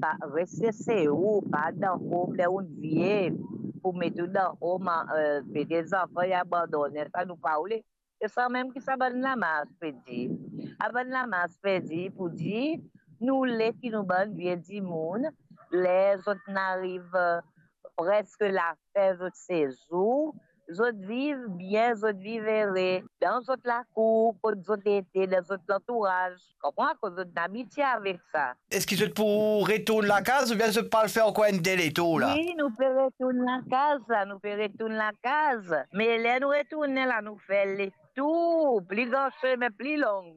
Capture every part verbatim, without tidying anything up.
pa res se ou, pa dan home ler ou vie, pou met ou dan home, eh, pe de zanfan e abandone, sa nou pa oule. E sa mem ki sa bann lamars pe dir. Sa bann lamars pe dir pou dir, nou le ki nou bann vie dimoun, ler zot inn ariv, eh, preske lafin zot sezour, zot viv bien, zot viv ere, dan zot lakour, kot zot ete, dan zot lantouraz. Konpran? Akoz zot inn abitie avek sa. Eski zot pou retourn lakaz oubien zot pou al fer ankor enn de letour la? Wi, nou pe retourn lakaz la, nou pe retourn lakaz. Me ler nou retourne la, nou fer letour, pli gran sime, pli long,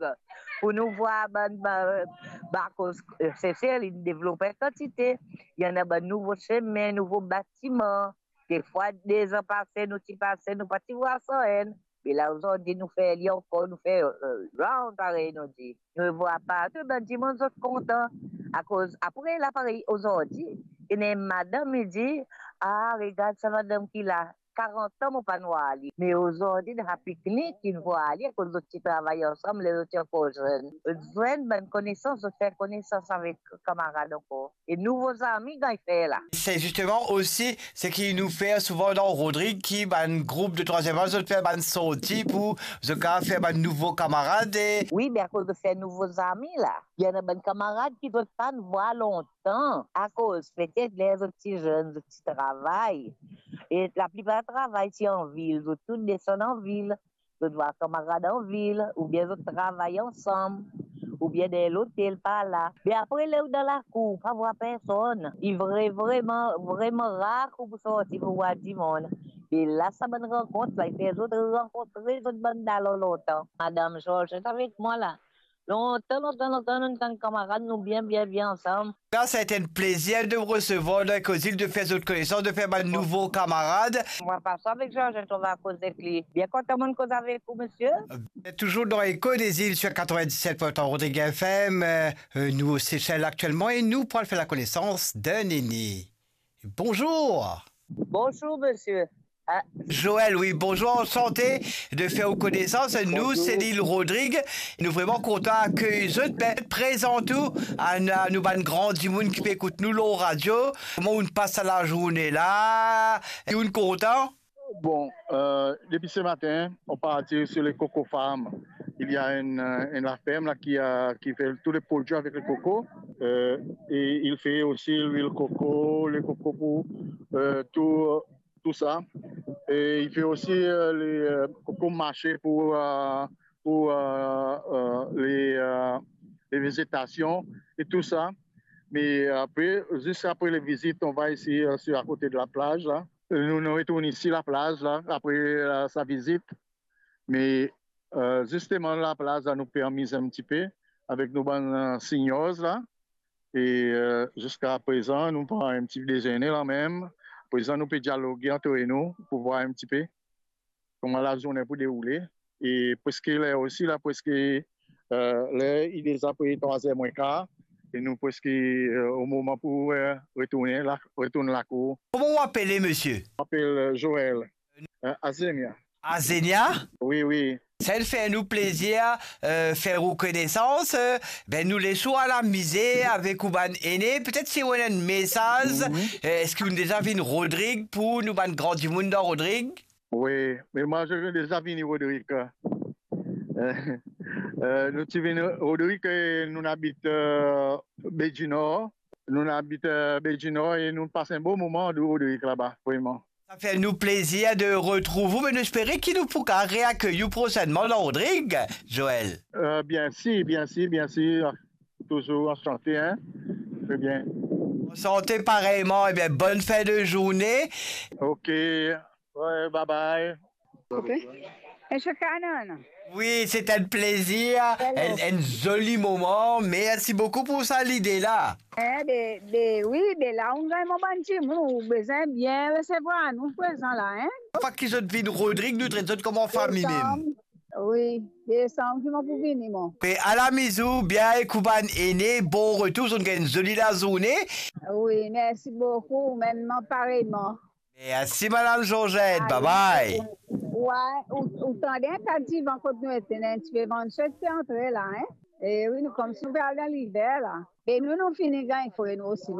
pou nou vwar bann ba-, ba-, akoz, eh, Sesel, li devlop an kantite. Li ena bann nouvo sime, nouvo batiman. Defwa, de zan pase, nou ti pase, nou pa ti vwar sa enn. Me la, ozordi, nou fer li ankor, nou fer, eh, round, parey nou dir. Nou vwar partou, bann dimoun, zot kontan. Akoz, apre la, parey ozordi, ena enn madam, li dir, "Ah, regard sa madam ki la. Karant an, mo pa'nn vwar li. Me ozordi, dan sa piknik, inn vwar li, akoz zot ti travay ansam, ler zot ti ankor zenn. Zot zwenn bann konesans, zot fer konesans avek kamarad ankor." E nouvo zami gagn fer la. Se zisteman osi seki nou fer souvan dan Rodrig, ki bann group de trwaziem az, zot fer bann sorti pou zot kapav fer bann nouvo kamarad e Wi, me akoz zot fer nouvo zami la, ena bann kamarad ki zot pa'nn vwar lontan, akoz petet ler zot ti zenn, zot ti travay. E laplipar travay ti an vil, zot tou desann an vil. Zot vwar kamarad an vil, oubien zot travay ansam, oubien dan lotel par la. Me apre, ler ou dan lakour, ou pa vwar personn. Li vre, vreman, vreman rar ki ou pou sorti pou vwar dimoun. E la, sa bann rankont la, li fer zot rankontre zot bann dalan lontan. Madam Georgette avek mwa la. Lontan, lontan, lontan, nou tann kamarad, nou bien, bien, bien ansam. Sa, se enn plezir de resevwar dan Eko Zil, de fer zot konesans, de fer bann nouvo kamarad. Mwa pas avek Georgette, on va koz ek li. Bien kontan mo'nn koz avek ou, misie. Touzour dan Eko Zil sur quatre-vingt-dix-sept point trois Rodrig F M, euh, euh, nou Sesel aktielman e nou pou al fer lakonesans d'enn ene. Bonzour. Bonzour, misie. Ah. Joël, wi, bonzour, ansante de fer ou konesans. Nou, bonzour. Se Lil Rodrig. Nou vreman kontan akey zot. Be, prezant ou a, a nou bann gran dimoun ki pe ekout nou lor radio. Kouma ou'nn pas sa lazourne la? E ou'nn kontan? Bon, euh, depuis ce matin, on partit sur les coco farms. Il y a une, euh, une la ferme là qui a, qui fait tous les produits avec le coco. Euh, et il fait aussi l'huile coco, le coco pour, euh, tout, tout ça. Et il fait aussi, euh, les, euh, coco mâché pour, euh, pour, euh, euh, les, euh, les végétations et tout ça. Mais après, juste après les visites, on va ici, euh, sur, à côté de la plage, là. Nou, nou retourn isi laplaz la, apre, euh, sa vizit. Me, euh, zisteman, laplaz la, nou pe amiz enn tipe avek nou bann, euh, seniors la. E, euh, ziska prezan, nou pran enn ti dezene la mem. Prezan, nou pe dialoge antre nou pou vwar enn tipe kouma lazourne pou deroule. E preske ler osi la, preske, euh, ler li deza pre trwa zer mwen kar, e nou preske, euh, o moman pou, euh, retourne la, retourn lakour. Kouma ou apele, misie? Mo apel, euh, Joël. Euh, Azenia. Azenia? Wi, wi. Sa inn fer nou plezir, euh, fer ou konesans. Euh, be, nou les ou al amize avek ou bann ene. Petet si ou ena enn mesaz, wi, euh, eski ou'nn deza vinn Rodrig pou nou bann gran dimoun dan Rodrig? Wi, me mwa, mo deza vini Rodrig. Euh, euh, nou ti vinn Rodrig, e nou abit, euh, Baie du Nord. Nou abit, euh, Baie du Nord e nou pas enn bon moman dan Rodrig laba, vreman. Sa fer nou plezir de retrouv ou, me nou espere ki nou pou kapav reakey ou prosennman dan Rodrig, Joël. Euh, bien sir, bien sir, bien sir. Touzour ansante, hein. Très bien. Ansante pareyman, ebien, bonn fin de zourne. Ok. Ouais, bye bye. Koupe. Misie Cannon. Wi, se enn plezir, enn, enn zoli moman. Mersi boukou pou sa lide la. Eh, be, be, wi, be la, ou gagn mo bann dimoun, ou bizin bien resevwar nou prezan la, hein? Fwa ki zot vinn Rodrig, nou tret zot kouma fami mem. Wi, desam ki mo pou vini, mwa. Pe al amiz ou bien ek ou bann ene, bon retour, zot gagn zoli lazourne. Wi, mersi boukou, mem pareyman. Mersi, Madam Georgette, bye bye. Wi, ou, ou tande enn ta divan kot nou ete, enn tipe vann sek pe antre la, hein? E wi, nou koumsa nou pe al dan liver la. E nou, nou fini gagn fre nou osi.